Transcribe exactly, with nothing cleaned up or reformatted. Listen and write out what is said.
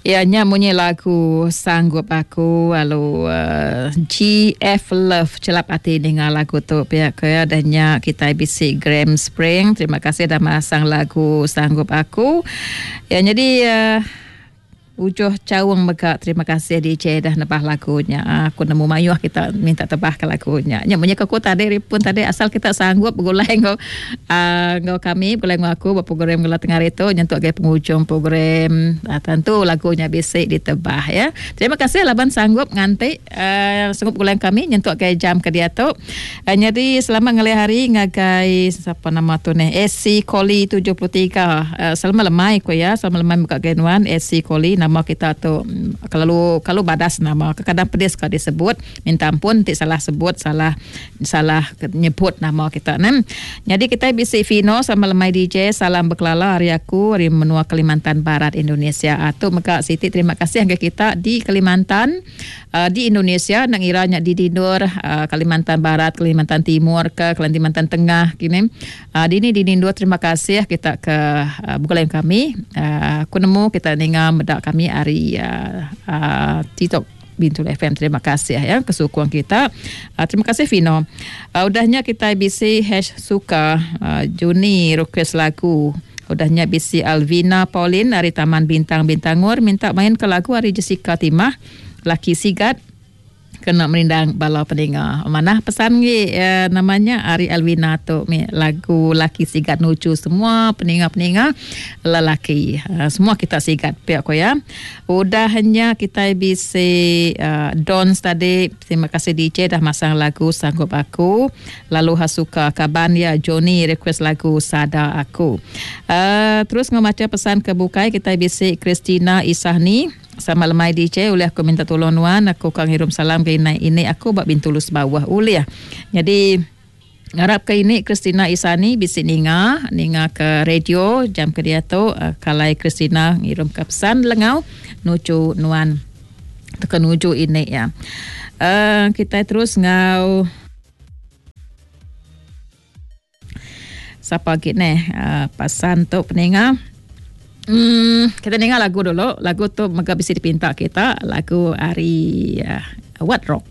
Ya nya munyi lagu Sanggup Aku lalu uh, G F Love celap ati ninga lagu tu pia ke ya dah nya kita bisi Graham Spring. Terima kasih dah masang lagu Sanggup Aku. Ya jadi uh, Ujuh Caung mega terima kasih D J dah nebah lagunya. Aku nemu mayuh kita minta tebah ke lagunya. Nya munyi aku tadi ripun tadi asal kita sanggup begulai ngau uh, ngau kami begulai ngau aku ba program Gula Tengah hari tu nyentuk ke penghujung program. Uh, tentu lagunya bisi ditebah ya. Terima kasih laban sanggup nganti uh, sanggup begulai kami nyentuk ke jam ke dia tu. Uh, jadi selamat ngalih hari ngagai siapa nama tu ni S C Koli tujuh puluh tiga. Uh, selamat lemai ku ya. Selamat lemai muka genuan S C Koli. Nama kita tu kalau kalau badas nama kadang pedis kalau disebut minta ampun ti salah sebut salah salah nyebut nama kita nem. Jadi kita bisi Fino sama lemai D J salam berkelala hari aku hari menua Kalimantan Barat Indonesia. Atu mega Siti terima kasih angga kita di Kalimantan uh, di Indonesia nang iranya di Dindur uh, Kalimantan Barat Kalimantan Timur ke Kalimantan Tengah kini. Uh, di ni di Dindur terima kasih kita ke uh, bukan kami uh, aku nemu kita ninga medak kami hari uh, uh, TikTok Bintulu F M. Terima kasih ya kesukung kita. Uh, terima kasih Fino. Uh, udahnya kita B C hash suka uh, Juni request lagu. Udahnya B C Alvina Pauline dari Taman Bintang Bintangur minta main ke lagu hari Jessica Timah Laki Sigat kena merindang bala peninga. Mana pesan ni eh, namanya Ari Alvina tu mi lagu Laki Sigat nuju semua peninga-peninga lelaki. Uh, semua kita sigat pihak ko ya. Udahnya kita bisa uh, Don tadi terima kasih D J dah masang lagu Sanggup Aku. Lalu Hasuka Kaban ya Johnny request lagu Sada Aku. Uh, terus ngemaca pesan ke bukai kita bisa Christina Isahni. Sama lemai D J oleh aku minta tolong nuan aku kang hirum salam ke ini, ini aku bak Bintulus bawah uliah. Jadi ngarap ke ini Christina Isani bisi ninga ninga ke radio jam ke dia tu uh, kalai Christina ngirum ke pesan lengau nuju nuan teka nuju ini ya. Uh, kita terus ngau siapa lagi ni uh, pasan tu peninga. Hmm, kita dengar lagu dulu. Lagu tu mega bisa dipinta kita. Lagu ari uh, What Rock.